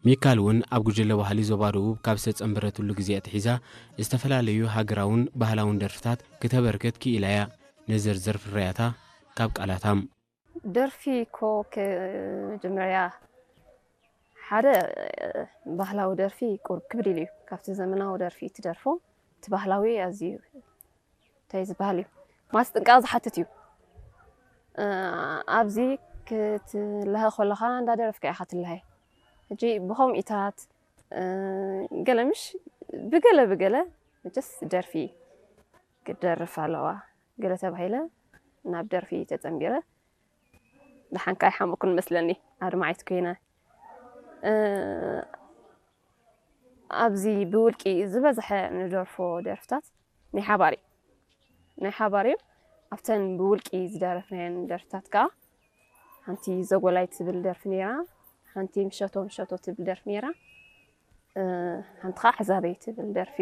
ሚካል እውን ኣብ ጉጅለ ባህሊ ዞባ ደቡብ ካብ ዝተጸንበረትሉ ግዜ ኣትሒዛ ዝተፈላለዩ ሃገራውን ባህላውን ደርፍታት ክተበርክት ክኢላ እያ። ንዝርዝር ፍርያታ ካብ ቃላታም። ደርፊ እኮ ከ- መጀመርያ ሓደ ባህላዊ ደርፊ ቁርብ ክብድ ኢሉ እዩ ካብቲ ዘመናዊ ደርፊ ትደርፎ። እቲ ባህላዊ ኣዝዩ እንታይ ዝበሃል እዩ፣ ማስጥንቃቕ ዝሓትት እዩ። ኣብዚ ክትለሀ ከለኻ እንዳደረፍካ ኢኻ ትለሀ። ሕጂ ብኸምኢታት ገለምሽ ብገለ ብገለ መቸስ ደርፊ ክደርፍ ኣለዋ ገለ ተባሂለ ናብ ደርፊ ተጸንቢረ። ደሓንካ ኣይሓመኩን መስለኒ ኣድማዒት ኮይነ። ኣብዚ ብውልቂ ዝበዝሐ ንደርፎ ደርፍታት ናይ ሓባር እዩ። ናይ ሓባር እዩ። ኣብተን ብውልቂ ዝደረፍናየን ደርፍታት ከዓ ሓንቲ ዘጎላይ ትብል ደርፊ ነይራ፣ ሓንቲ ምሸቶ ምሸቶ ትብል ደርፊ ነይራ፣ ሓንቲ ከዓ ሕዛበይ ትብል ደርፊ።